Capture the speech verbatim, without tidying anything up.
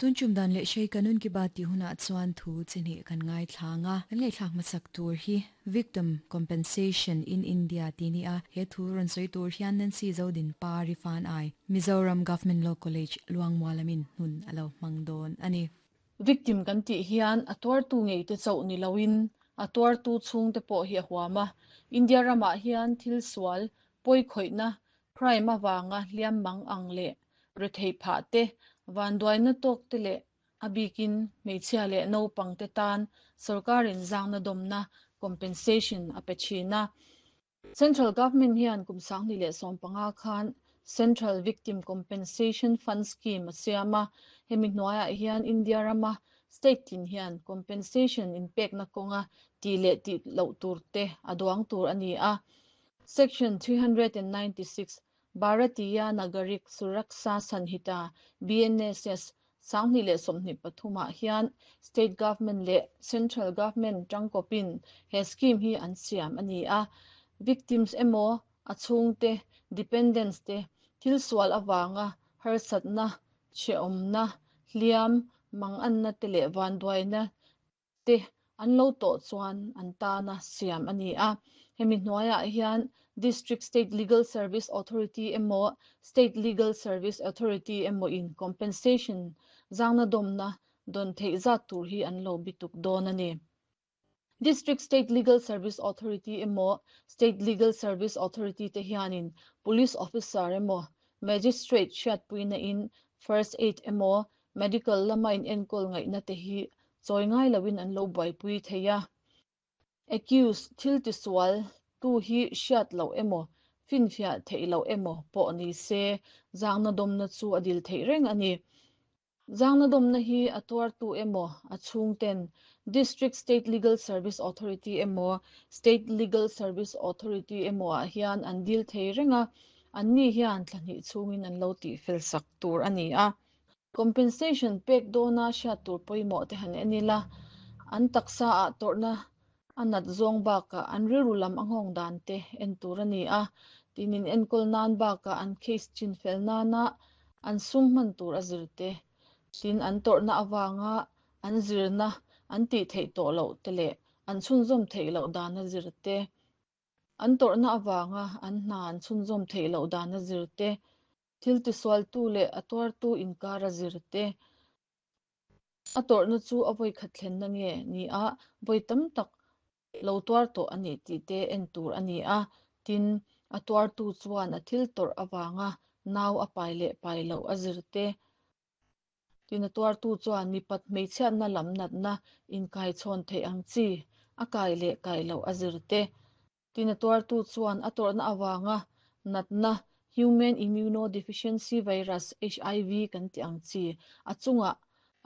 Tun tum dan leh hrei kanun ki baat ti huna chuan thu chini kan ngai thlanga kan ngai thlak masak tur hi Victim Compensation in India ti ni a he thu ron soi tur hian Nancy Zodin Pari fan ai Mizoram Government Law College Luangmualamin hun alo mangdon ani. Victim kan ti hian a tuar tu ngei te chau ni loin a tuar tu chung te pawh hi a huama India rama hian thil sual poi khoina crime awanga hliam mang ang le rethei pha te van duaina tok te le abikin hmeichhia leh naupang te tan sarkarin zangna domna compensation a pe thina. Central government hian kum sangni leh sawmpanga khan Central Victim Compensation Fund Scheme a siama hemi hnuaiah hian India rama state tin hian compensation in pekna kawnga ti leh ti loh tur te a duang tur ani a. Section three hundred ninety-six Bharatiya Nagarik Suraksha Sanhita, B N S S, sangni leh sawmhnih pathumah hian state government leh central government tangkawpin he scheme hi an siam ani a. Victims emaw a chhungte, dependents te thil sual awanga harsatna, hreawmna, hliam mang anna te leh van duaina te an lo tawh chuan an tana siam ani a. Hemi hnuaiah hian District State Legal Service Authority emaw State Legal Service Authority emaw in compensation zangna domna don theih zat tur hi an lo bituk dawn ani. District State Legal Service Authority emaw State Legal Service Authority te hianin police officer emaw magistrate hriatpuina in first aid emaw medical lama in enkawl ngaihna te hi chawi ngai loin an lo buaipui thei a. Accused, thil tisual tu hi hriat loh emaw finfiah theih loh emaw pawh ni se zangna domna chu a dil theih reng ani. Zangna domna hi a tuar tu emaw a chhungten District State Legal Service Authority emaw State Legal Service Authority emaw ah hian an dil thei renga, an ni hian thlahnih chhungin an lo tih fel sak tur ani a. Compensation pek dawna hriat tur pawimawh te han enila, an taksa ah tawrhna a nat zawng bakah an rilru lam a nghawng dan te en tur ani a. Tinin enkawl nan bakah an case chin fel nana an sum hman tur a zir te, tin an tawrhna awanga an zirna an tih theih tawh loh te leh an chhunzawm theih loh dan a zir te, an tawrhna awanga an hna an chhunzawm theih loh dan a zir te, thil tisual tu leh a tuar tu inkar a zir te, a tawrhna chu a vawi khat thlen na nge ni a vawi tam tak lo tuar tawh ani tih te en tur ani a. Tin a tuar tu chuan a thil tawrh awanga nau a pai leh pai loh a zir te, tin a tuar tu chuan mipat hmeichhiatna lam natna inkai chhawn theih ang chi a kai leh kai loh a zir te, tin a tuar tu chuan a tawrhna awanga natna Human Immunodeficiency Virus, H I V kan ti ang chi a chunga